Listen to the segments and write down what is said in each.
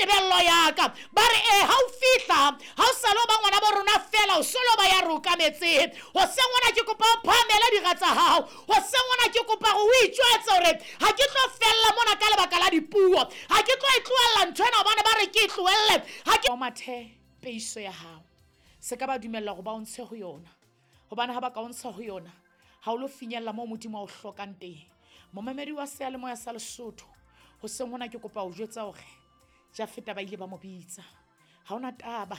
tebello ya ka. Ba re ee, ha o fihla ha o sa lo ba ngwana bo rona fela, o solo ba ya re okametseng. Hoseng hona ke kopa o phahamele dira tsa hao. Hoseng hona ke kopa gore o itjwetse gore ga ke tlo fella mona ka lebaka la dipuo, ga ke tlo e tlohella ntho ena gobane ba re ke e tlohelle. Ga ke mathe peiso ya gago, se ka ba dumella gore ba o ntshe go yona, gobane ga ba ka o ntsha go yona ga o lo finyella moo Modimo a o hlokang teng. Momamedi wa seyalemoya sa Lesotho, hoseng hona ke kopa o jwetsa hore Jafeta ba ile ba mo bitsa. Ha ona taba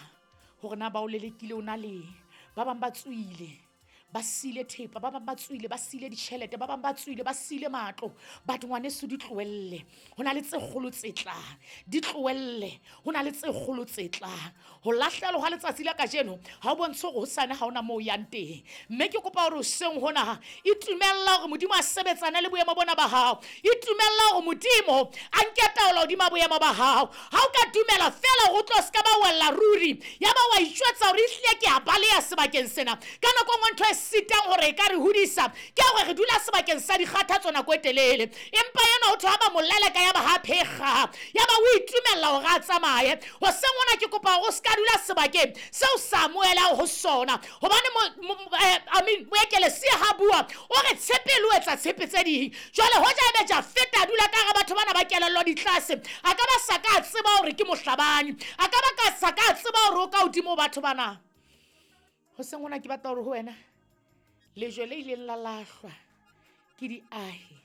hore na ba o lelekile o na leng. Ba bang ba tswile ba siile thepa, ba bang ba tswile ba siile ditjhelete, ba bang ba tswile ba siile matlo. But ngwaneso, di tlohelle, ho na le tse kgolo tse tlang. Di tlohelle, ho na le tse kgolo tse tlang. Ho lahlehelwa hwa letsatsi la kajeno ha o bontshe hore hosane ha ona moo o yang teng. Mme ke kopa hore hoseng hona itumella hore Modimo a sebetsane le boemo bona ba hao. Itumella hore Modimo a nke taolo hodima boemo ba hao. Ha o ka dumela fela hore o tlo se ka ba wella ruri, ya ba wa itjwetsa hore ehlile ke a baleha sebakeng sena. Ka nako e nngwe ntho e sitang hore e ka re hodisa ke hore re dula sebakeng sa dikgathatso nako e telele. Empa enwa ho thwe ha ba mo leleka ya ba ha phekga, ya ba o itumella hore a tsamaye. Hoseng hona ke kopa hore o se ka dula sebakeng seo sa amohelang ho sona, gobane moekelesia ha bua o re tshepe le o etsa tshepe tse ding. Jwale hoja ebe Jafeta a dula ka hara batho bana ba kelello di tlase, a ka ba sa ka a tseba hore ke mohlabani, a ka ba ka sa ka a tseba hore o ka hodimo ho batho bana. Hoseng hona ke batla hore ho wena lejwe le ileng la lahlwa ke diahi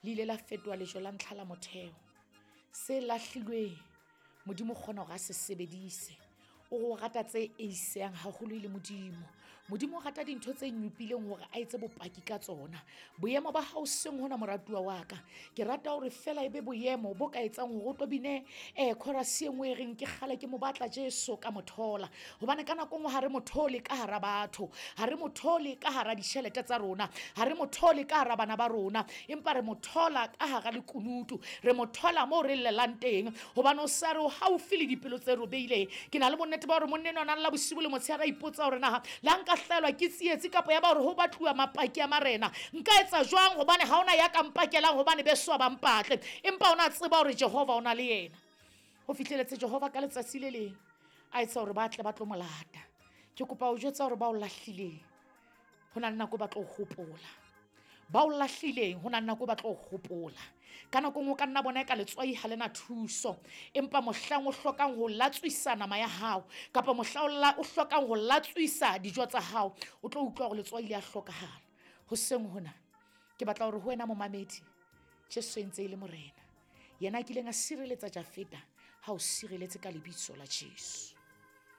le ile la fetoha lejwe la ntlha la motheo. Se lahlilweng Modimo o kgona hore a se sebedise. O re o rata tse eisehang haholo e le Modimo. Modimo o rata dintho tse nyopileng hore a etse bopaki ka tsona. Boemo ba hao seng hona, moratuwa wa ka, ke rata hore fela e be boemo bo ka etsang hore o tlo bine chorus e nngwe e reng ke kgale ke mo batla Jesu ka mo thola. Hobane ka nako nngwe ha re mo thole ka hara batho, ha re mo thole ka hara ditjhelete tsa rona, ha re mo thole ka hara bana ba rona, empa re mo thola ka hara lekunutu, re mo thola moo re llelang teng, hobane o sa re o haufi le dipelo tse robeileng. Ke na le bonnete ba hore monna enwa a na lla bosibu le motshehare a ipotsa hore na le ha nka hlahelwa ke tsietsi kapa ya ba hore ho batluwa mapaki a marena, nka etsa jwang, hobane ha ona ya ka mpakelang, hobane beso ha ba mpatle. Empa o na tseba hore Jehova o na le yena. Ho fihleletse Jehova ka letsatsi le leng a etsa hore ba tle ba tlo mo lata. Ke kopa ho jwetsa hore ba o lahlileng ho na le nako ba tlo hopola. Ba o lahlileng ho na le nako ba tlo hopola. Ka nako nngwe o ka nna bona eka letswai ha le na thuso, empa mohlang o hlokang ho latswisa nama ya hao kapa mohla o hlokang ho latswisa dijo tsa hao, o tlo utlwa hore letswai le a hlokahala. Hoseng hona ke batla hore ho wena momamedi, Jesu e ntse e le Morena, yena a kileng a sireletsa Jafeta, ha o sireletse ka lebitso la Jesu.